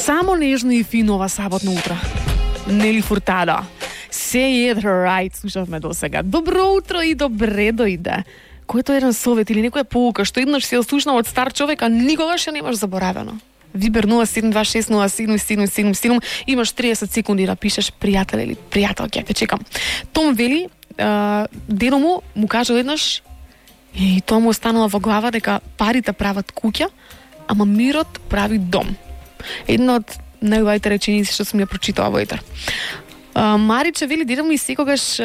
Само нежно и фино ова саботно утро. Нели Фуртадо. Say it right, слушавме до сега. Добро утро и добре дојде. Којто еден совет или некоја поука што еднаш си ја слушнал од стар човек, а никогаш ја немаш заборавено. Вибер 0726077777, имаш 30 секунди да пишеш пријател или пријателке, те чекам. Том вели, дедо му кажа еднаш, и тоа му останала во глава дека парите прават куќа, ама мирот прави дом. Една од најубавите реченици што сум ја прочитала во етер. Мариче вели, дедо ми секогаш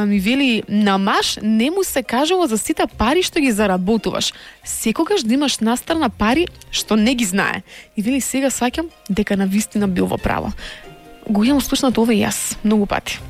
ми вели, на маж не му се кажува за сите пари што ги заработуваш. Секогаш да имаш настрана пари што не ги знае. И вели, сега сваќам дека навистина бил во право. Го имам слушнато ова и јас многу пати.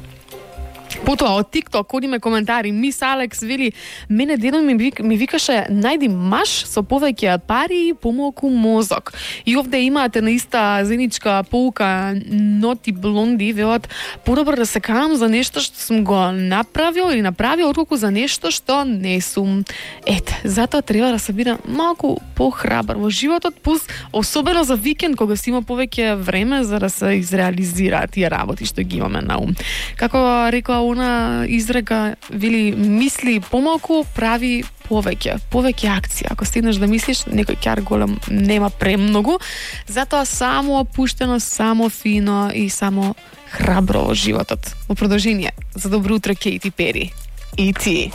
Потоа од TikTok одиме коментари. Мис Алекс вели, мене дедо ми викаше најди маж со повеќе пари и помалку мозок. И овде имате наиста заедничка поука Ноти Блонди, велат, подобро да се каам за нешто што сум го направил или направил, отколку за нешто што не сум. Ете, затоа треба да се биде малку похрабар во животот, плюс особено за викенд кога си има повеќе време за да се изреализираат тие работи што ги имаме на ум. Како рекла она изрека, вели, мисли помалку, прави повеќе акција. Ако стигнеш да мислиш, некој ќар голем нема премногу, затоа само опуштено, само фино и само храбро во животот. Во продолжение, за добро утро, Кейти Пери. И ти.